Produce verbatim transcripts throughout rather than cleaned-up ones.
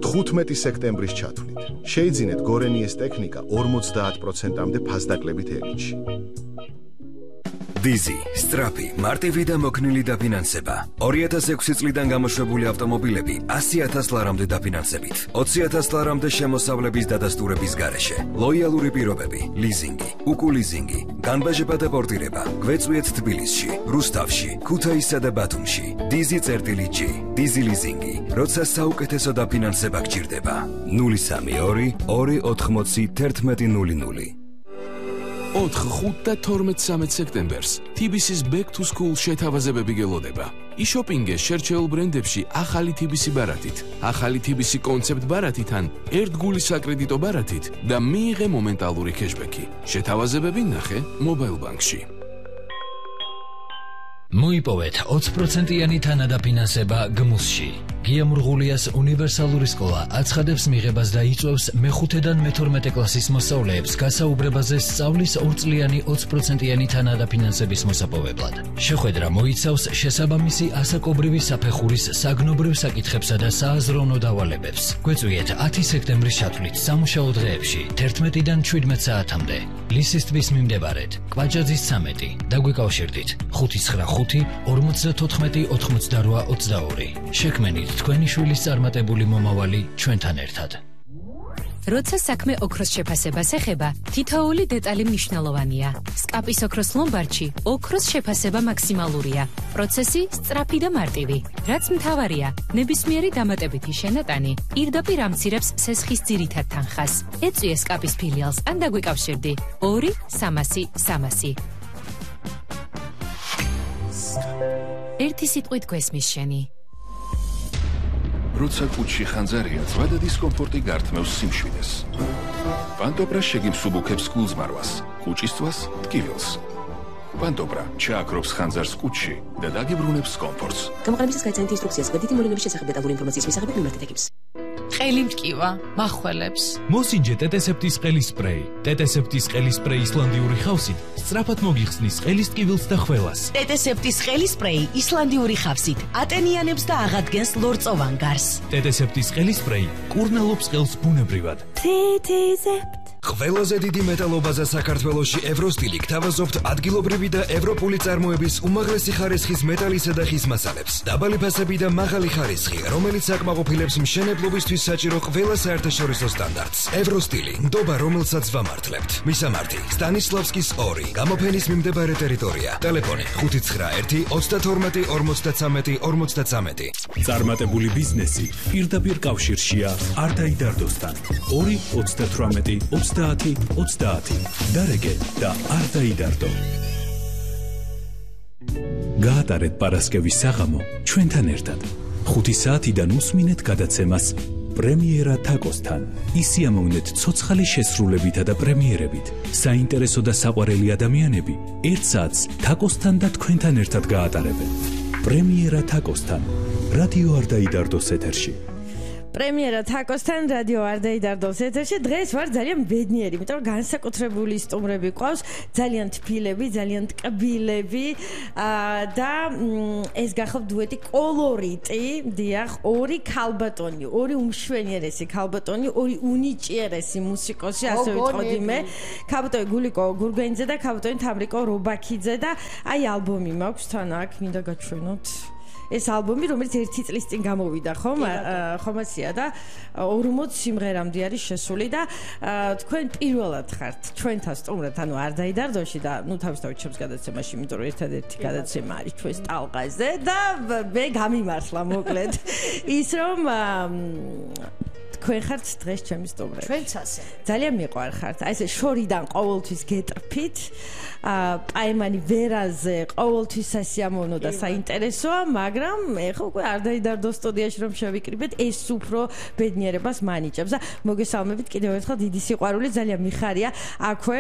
თხუთმეტი სექტემბრის ჩათვლით. შეიძინეთ გორენიეს ტექნიკა ორმოცდაათ პროცენტამდე ფასდაკლებით ელიტში. დიზი, სტრაფი, მარტივი და მოქნილი დაფინანსება. ორი ათას ექვსი წლიდან გამოშვებული ავტომობილები ასი ათას ლარამდე დაფინანსებით. ოცი ათას ლარამდე შემოსავლების დადასტურების გარეშე. ლოიალური პირობები, ლიზინგი, უკულიზინგი, განბაჟება და პორტირება. გვეწვიეთ თბილისში, რუსთავში, ქუთაისსა და ბათუმში. დიზი წერტილი ჯი, დიზი ლიზინგი. როცა საუკეთესო დაფინანსება გჭირდება. ნული სამი ორი ორი ოთხმოცი თერთმეტი ნული ნული. ოთხ, ხუთ და თორმეტ სამეთ სექტემბერს თი ბი სის Back to School შეთავაზებები გელოდება. იშოპინგე შერჩეულ ბრენდებში ახალი თი ბი სი ბარათით, ახალი თი ბი სი კონცეპტ ბარათით ან ერთგული საკრედიტო ბარათით და მიიღე მომენტალური кэშბექი. შეთავაზებები ნახე მობაილ ბანკში. მოიპოვეთ ოცი პროცენტიანი თანადაფინანსება გმუსში. გია მურღულიას უნივერსალური სკოლა აცხადებს მიღებას და იწვევს მეხუთედან მეთორმეტე კლასის მოსწავლეებს გასაუბრებაზე სწავლის ორწლიანი ოცი პროცენტიანი თანადაფინანსების მოსაპოვებლად. შეხვედრა მოიცავს შესაბამისი ასაკობრივი საფეხურის საგნობრივ საკითხებსა და სააზროვნო დავალებებს. გვეწვიეთ ათი სექტემბრის ჩათვლით სამუშაო დღეებში თერთმეტიდან შვიდმეტ საათამდე. ლისის ტბის მიმდებარედ, კვაჭაძის ცამეტი. დაგვიკავშირდით ხუთი ცხრა ხუთი ორმოცდათოთხმეტი ოთხმოცდარვა ოცდაორი. შექმენით თქვენი შვილის წარმატებული მომავალი ჩვენთან ერთად. როცა საქმე ოქროს შეფასებას ეხება, თითოეული დეტალი მნიშვნელოვანია. სკაპის ოქროს ლომბარდში ოქროს შეფასება მაქსიმალურია. პროცესი სწრაფი და მარტივი. რაც მთავარია, ნებისმიერი დამატებითი შენატანი პირდაპირ ამცირებს სესხის ძირითად თანხას. ეწვიე სკაპის ფილიალს ან დაგვიკავშირდი ორი სამასი სამასი. ერთი სიტყვით გვესმის შენი. როცა კუჩში ხანძარია, ზღვა და დისკომფორტი გართმევს სიმშვიდეს. პანტოპრა შეგიმსუბუქებს გულზმარვას, კუჭისწვას, ტკივილს. პანტოპრა ჩააქრობს ხანძარს კუჩში და დაგიბრუნებს კომფორტს. გამოყენებისას გაიცანით ინსტრუქციას გვერდითი მოვლენების შესახებ დეტალური ინფორმაციის მისაღებად მიმართეთ ეკიპს. ყელი მტკივა, მახველებს. მოსინჯე ტეტესეპტის ყელის სპრეი. ტეტესეპტის ყელის სპრეი ისლანდიური ხავსით სწრაფად მოგიხსნის ყელის ტკივილს და ხველას. ტეტესეპტის ყელის სპრეი ისლანდიური ხავსით ატენიანებს და აღადგენს ლორწოვან გარს. ტეტესეპტის ყელის სპრეი კურნალობს ყელს ბუნებრივად. ტეტესეპტ ყველაზე დიდი მეტალობაზე საქართველოში ევროსტილი გთავაზობთ ადგილობრივი და ევროპული წარმოების უმაღლესი ხარისხის მეტალისა და ხის მასალებს. დაბალი ფასები და მაღალი ხარისხი, რომელიც აკმაყოფილებს მშენებლობისთვის საჭირო ყველა საერთაშორისო სტანდარტს. ევროსტილი, ნდობა, რომელსაც ვამართლებთ. მისამართი: სტანისლავსკის ორი, გამოფენის მიმდებარე ტერიტორია. ტელეფონი: ხუთი ცხრა ერთი ოცდათორმეტი ორმოცდათრამეტი ორმოცდათრამეტი. წარმატებული ბიზნესი პირდაპირ კავშირშია არ დაიდარდოსთან. ორი ოცდათრამეტი ოცდაათი ოცდაათი. დარეგე და არ დაიდარდო. გაატარეთ პარასკევის საღამო ჩვენთან ერთად. ხუთი საათიდან უსმინეთ გადაცემას პრემიერა თაკოსთან. ისიამოვნეთ ცოცხალი შესრულებითა და პრემიერებით. საინტერესო და საყვარელი ადამიანები ერთ საათს თაკოსთან და თქვენთან ერთად გაატარებენ. პრემიერა თაკოსთან. რადიო არ დაიდარდოს ეთერში. პრემიერა თაკოსთან რადიო არ დაიდარდოს ეთერში. დღეს ვარ ძალიან ბედნიერი, იმიტომ რომ განსაკუთრებული სტუმრები ყავს, ძალიან თბილები, ძალიან ტკბილები და ეს გახავთ დუეტი კოლორიტი. დიახ, ორი ქალბატონი, ორი უმშვენიერესი ქალბატონი, ორი უნიჭიერესი მუსიკოსი, ასე ვიტყოდი მე. ქალბატონი გულიკო გურგენიძე და ქალბატონი თამრიკო რობაქიძე და აი ალბომი მაქვს თან აქ, მინდა გაჩვენოთ. ეს ალბომი, რომელიც ერთი წლის წინ გამოვიდა, ხომ? ხომაცია და ორმოც სიმღერამდე არის შესული და თქვენ პირველად ხართ ჩვენთან სტუმრად, ანუ არ დაიდარდოში და ნუ თავისთავად ჩემს გადაცემაში, იმიტომ რომ ერთადერთი გადაცემა არის ჩვენს ტალღაზე და მე გამიმართლა მოკლედ ის რომ თქვენ ხართ დღეს ჩემი სტუმრები. ჩვენც ასე. ძალიან მიყვარხართ. აი ესე შორიდან ყოველთვის გეტრფით, პაემანი ვერაზე ყოველთვის სასიამოვნო და საინტერესოა, მაგრამ ეხლა უკვე არ დაიდარდო სტუდიაში რომ შევიკრიბეთ, ეს უფრო ბედნიერებას მანიჭებს და მოგესალმებით კიდევ ერთხელ დიდი სიყვარული, ძალიან მიხარია აქვე,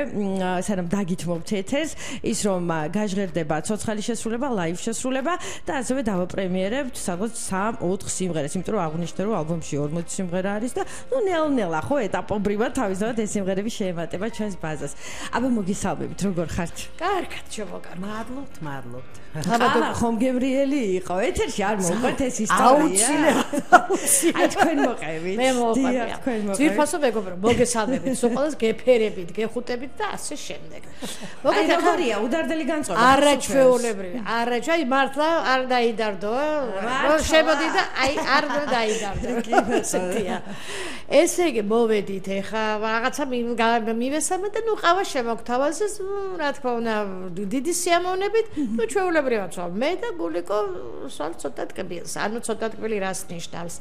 სანამ დაგითმობთ ეთერს, ის რომ გაჟღერდება ცოცხალი შესრულება, ლაივ შესრულება და ასევე დავაპრემიერებთ სადღაც სამ ოთხ სიმღერას, იმიტომ რომ აღვნიშნე რომ ალბომში ორმოცი სიმღერა არის და ნუ ნელ-ნელა ხო ეტაპობრივად თავისთავად ეს სიმღერები შეემატება ჩვენს ბაზას. აბა მოგესალმებით, როგორ ხართ? ხართ? კარგად შემოგარ. მადლობთ, მადლობთ. აბა ხომ გებრიელი იყო? ეთერში არ მოყვეთ ეს ისტორია? აუცილებლად, აუცილებლად. აი თქვენ მოყევით. მე მოყვები. თქვენ მოყევით. ძირფასო მეგობრო, მოგესალმებით, სულ ყველას გეფერებით, გეხუტებით და ასე შემდეგ. აი როგორია უდარდელი განწყობა? არაჩვეულებრივი. არაჩვე, აი მართლა არ დაიდარდო. შემოდი და აი არ დაიდარდო. ესეთია. ესე იგი მოვედით ეხა რაღაცა მივესალმეთ და ნუ ყავა შემოგთავაზეს, რა თქმა უნდა, დიდი სიამოვნებით, ნუ ჩვეულებრივად ვარ მე და გულიკო სულ ცოტა ტკბილს, ანუ ცოტა ტკბილი რას ნიშნავს?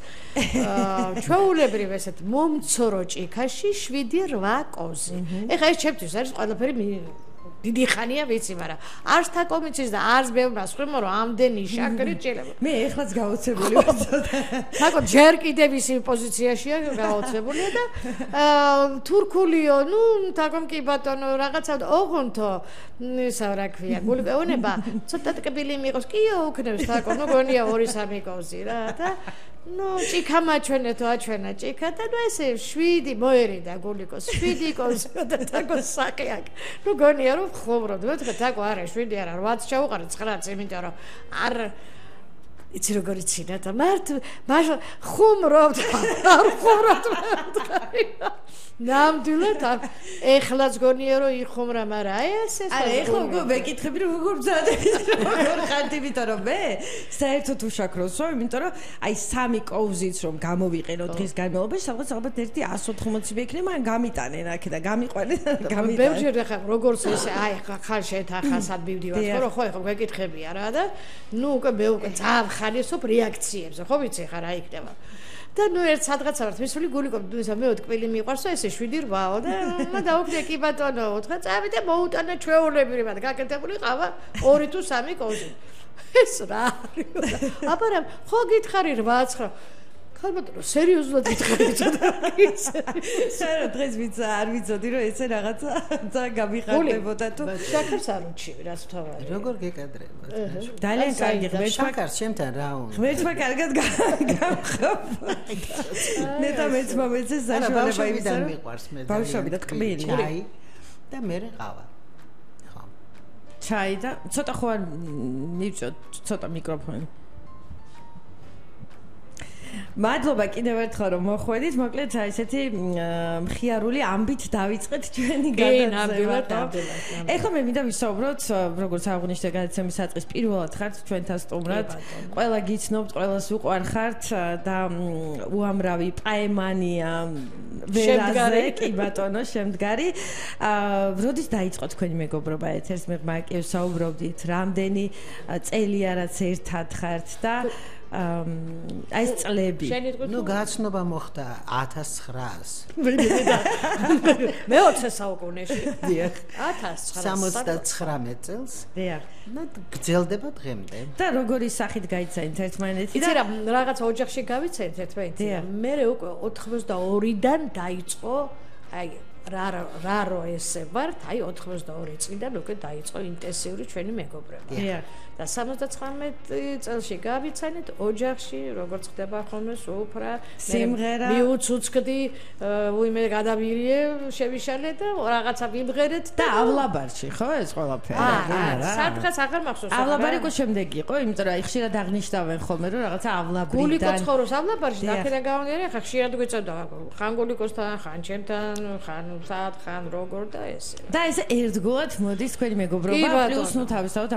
ჩვეულებრივ ესეთ მომცრო ჭიქაში შვიდი რვა კოზი. ეხა ეს ჩემთვის არის ყველაფერი დიდი ხანია ვიცი, მაგრამ არც თაკომიცის და არც ბევრს ხვიმო რომ ამდენი შაქრი ჭილება. მე ეხლაც გაოცებული ვარ. თაკო ჯერ კიდევ ის პოზიციაშია გაოცებულია და თურქულიო, ნუ თაკომ კი ბატონო რაღაცა ოღონთო ისა რა ქვია, გულგეონება ცოტა ტკბილი მიყავს, კიო უქნევს თაკო, ნუ გონია ორი სამი კოზი რა და ნუ ჭიქა მაჩვენეთო აჩვენა ჭიქა და ნუ ესე შვიდი მოერიდა გულიკოს შვიდი კოზი და თაკო საკი აქ. ნუ გონია რომ ხობროდ, ვეთქე თაკო არა შვიდი არა რვაც ჩაუყარე ცხრაც, იმიტომ რომ არ იცი როგორ ცინა და მართ მაშ ხუმრობ არ ხუმრობ ნამდვილად ეხლაც გონია რომ იხუმრა, მაგრამ აი ეს ეს არა ეხლა უკვე მეკითხები რომ როგორ ბრძადები როგორ ხართ, იმიტომ რომ მე საერთოდ უშაქროს ვარ, იმიტომ რომ აი სამი კოვზიც რომ გამოვიყენო დღის განმავლობაში, სადღაც ალბათ ერთი εκατს ოთხმოცი მექნე, მაგრამ გამიტანენ აქ და გამიყვანენ გამიტანენ. ბევრჯერ ეხლა როგორც ესე აი ხალ შეთახასად მივდივარ, ხო რომ ხო ეხლა მეკითხებია რა და ნუ უკვე მე უკვე ძალიან ხარისოფ რეაქციებს, ხო ვიცი ხა რა იქნება. და ნუ ერთ სადღაცა ვართ მისული გულიკო ისა მე თკბილი მიყვარსო ესე შვიდი რვაო და მე დავუკვდე კი ბატონო ოთხა წავიდა მოუტანა ჩვეულებრივად გაკეთებული ყავა ორი თუ სამი კოზი. ეს რა არის? აბა რა ხო გითხარი რვა ცხრა ხალბატონო სერიოზულად გითხარი ცოტა ისე. საერთოდ დღეს ვიცი არ ვიცოდი რომ ესე რაღაცა ძალიან გამიხარდებოდა თუ შაქარს არ უჩივი რას ვთავარი. როგორ გეკადრება? ძალიან კარგი ღმერთმა შაქარს ჩემთან რა უნდა? ღმერთმა კარგად გამხობა. ნეტა მეც მომეცეს საშუალება იმისა რომ მიყვარს მე ბავშვები და ტკბილი ჩაი და მე ყავა. ხო. ჩაი და ცოტა ხო არ მივწოთ ცოტა მიკროფონი. მადლობა კიდევ ერთხელ რომ მოხვედით, მოკლედ აი ესეთი მხიარული ამბით დავიწყეთ ჩვენი გადაცემა. ეხლა მე მინდა ვისაუბროთ, როგორც აღნიშნე გადაცემის საწყის პირველად ხართ ჩვენთან სტუმრად. ყველა გიცნობთ, ყველას უყვარხართ და უამრავი პაემანია ვერაზე, კი ბატონო, შემდგარი. როდის დაიწყო თქვენი მეგობრობა ეთერს? მე მაგ საუბრობდით, რამდენი წელია რაც ერთად ხართ და აი ეს წლები. ნუ გაცნობა მოხდა ათას ცხრაას. მეოცე საუკუნეში. დიახ. ათას ცხრაას სამოცდაცხრამეტ წელს. დიახ. და გრძელდება დღემდე. და როგორი სახით გაიცანით ერთმანეთი და იცი რა რაღაცა ოჯახში გავიცანით ერთმანეთი. მე უკვე ოთხმოცდაორიდან დაიწყო აი რა რა რო ესე ვართ, აი ოთხმოცდაორი წლიდან უკვე დაიწყო ინტენსიური ჩვენი მეგობრობა. დიახ. და სამოცდაცხრამეტ წელში გავიცანით ოჯახში, როგორც ხდება ხოლმე სუფრა, სიმღერა, მიუცუცკდი, უიმე გადავირიე, შევიშალე და რაღაცა ვიმღერეთ და ავლაბარში, ხო ეს ყველაფერი? არა, სადღაც აღარ მახსოვს. ავლაბარი უკვე შემდეგ იყო, იმიტომ რომ აი ხშირად აღნიშნავენ ხოლმე რომ რაღაცა ავლაბრიდან. გულიკო ცხოვრობს ავლაბარში, აქედან გამომდინარე, ხა ხშირად გვეწოდა ხან გულიკოსთან, ხან ჩემთან, ხან სად, ხან როგორ და ესე. და ეს ერთგულად მოდის თქვენი მეგობრობა, პლუს ნუ თავისთავად ამ